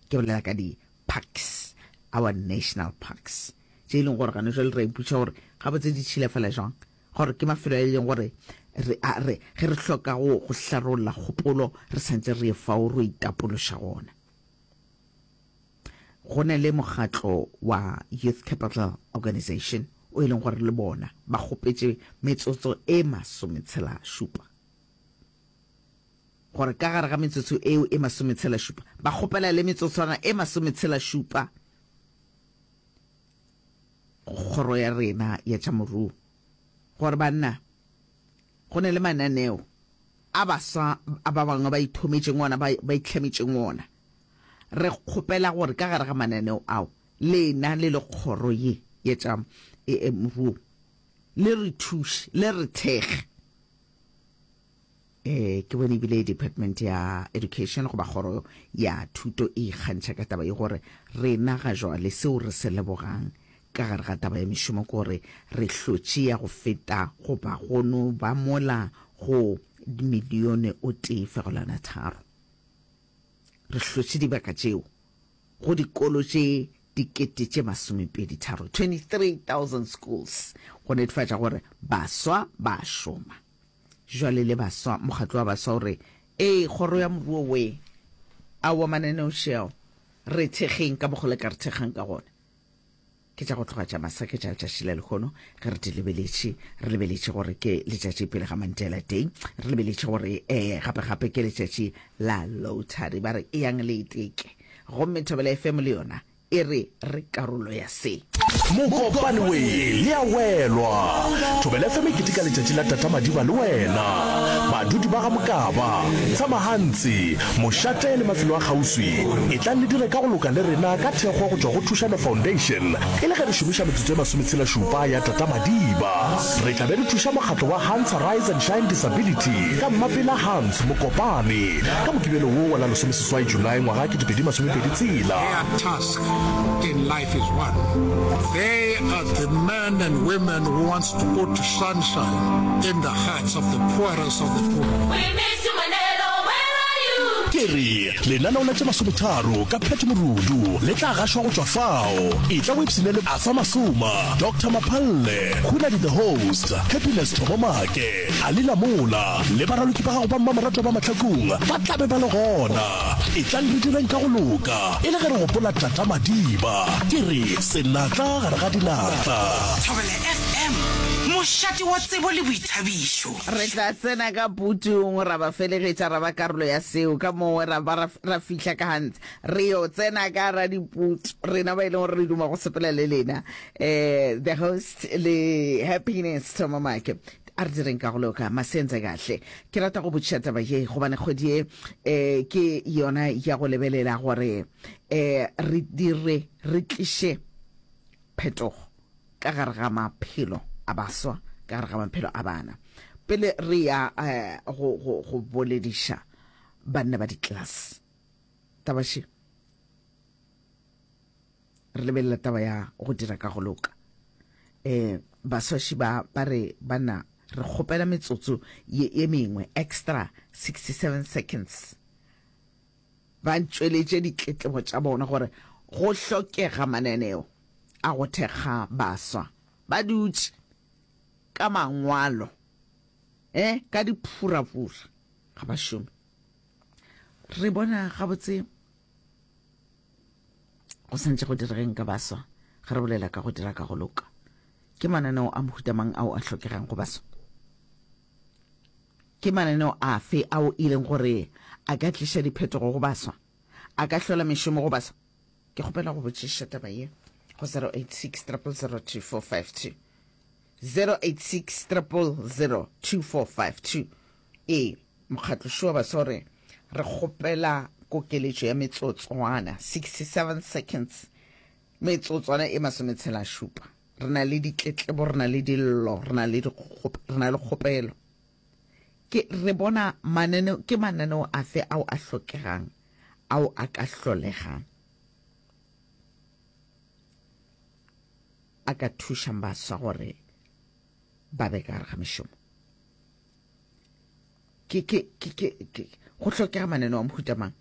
Ke bolela ka di parks, our national parks, tše e leng gore gane jwale re a ipotšiša gore gabotse di tšhilafala jwang, gore ke mafelo a e leng gore re a re ge re hloka go go hlarolla kgopolo re santse re ye fao ro itapološa gona. Go na le mokgatlo wa Youth Capital Organization o e leng gore le bona ba kgopetše metsotso e masometshelašupa. Gore ka gare ga metsotso eo e masometshelašupa ba kgopela le metsotswana e masometshelašupa go kgoro ya rena ya tša moruo gore banna go na le mananeo a baswa a ba bangwe ba ithometšeng ona ba ba itlhametšeng ona. Re kgopela gore ka gare ga mananeo ao lena le le kgoro ye ya tša moruo le re thuše le re thekge. Eh, ke bone ebile department ya education goba kgoro ya thuto e ikgantšha ka taba ye gore rena ga jwale seo re se lebogang ka gare ga taba ya mešomo ke gore re hlotše ya go feta goba go no ba mola go milione o tee fegelwana tharo. Re hlotše dibaka tšeo go dikolo tše dikete tše masomepeditharo, 23,000 schools, go netefatša gore baswa ba a šoma. Jwale le baswa, mokgatlo wa baswa o re, Ee, kgoro ya moruo we, aowa mananeo šeao, re thekgeng ka mokgo le ka re thekgang ka gona. Ke tša go tloga tša masa ke tša letšatši la lehono ge re di lebeletše, re lebeletše gore ke letšatši pele ga Mandela Day, re lebeletše gore um gape gape ke letšatši la lottery, ba re eyang le iteke. Gomme Thobela FM le yona E re re karolo ya se. Mokopane we le a welwa. Thobela FM e keteka letšatši la Tata Madiba le wena. Badudi ba ga Mokaba, Tshamahantsi, Mošate le mafelo a kgauswi, etlang le dire ka go loka le rena ka thekgo go tšwa go Thušano Foundation e le ge re šomiša metsotso e masometshelašupa ya Tata Madiba. Re tla be re thuša mokgatlo wa Hans Rise and Shine Disability ka Mmapela Hans Mokopane ka Mokibelo wo wa la lesomeseswai Julae ngwaga 2026. Their task in life is one, they are the men and women who wants to put sunshine in the hearts of the poorest of the poor. We miss you Manelo, where are you? Ke re, lenaneo la tše masometharo ka Pat Morudu le tla gašwa go tšwa fao. Etla o ipshine le Arthur Masoma, Doctor Maphalle, Hunadi the Host, Happiness Thobo Make, Ali Lamola le baraloki ba gago ba mmamoratwa ba Mahlakung ba tla be ba le gona. Etlang re direng ka go loka e le ge re gopola Tata Madiba. Ke re senatla gare ga dinatla. Thobela FM, mošate wa tsebo le boithabišo. Re tla tsena ka putung ra ba felegetša ra ba karolo ya seo ka mongwe ra ba ra, ra fihla ka Hans. Re yo tsena ka ra diputu rena ba e leng gore re duma go sepela le lena. Eh, the host le Happiness Thoma Make. A re direng ka go loka, masenze kahle. Ke rata go botšiša taba ye gobane kgwedi ye eh, ke yona ya go lebelela gore eh, re dire re tliše phetogo ka gare ga maphelo a baswa, ka gare ga maphelo a bana. Pele re ya eh, go, go, go bolediša banna ba di-class taba še re lebelela taba ya go dira ka go loka. Um baswaši ba ba re banna re kgopela metsotso ye, ye mengwe extra 67 seconds. Ba tšweletše ditletlebo tša bona gore go hlokega mananeo a go thekga baswa. Ba dutše ka mangwalo eh ka diphurapura ga ba šome. Re bona gabotse Go santše go diregeng ka baswa ge re bolela ka go dira ka go loka? Ke mananeo a mohuta mang ao a hlokegang go baswa? Ke mananeo afe ao e leng gore a ka tliša diphetogo go baswa? A ka hlola mešomo go baswa? Ke kgopela go botšiša taba ye go 086 000 2452. 086 000 2452. Ee, mokgatlo šo wa baswa o re, Re kgopela kokeletšo ya metsotswana, 67 seconds, metsotswana e masometshelašupa. Re na le ditletlebo, re na le dillo, re na le re na le kgopelo. Ke, re bona mananeo, ke mananeo afe ao a hlokegang, ao a ka hlolegang, a ka thušang baswa gore ba be ka gare ga mešomo? Ke, ke, ke, ke, ke, go hlokega mananeo a mohuta mang?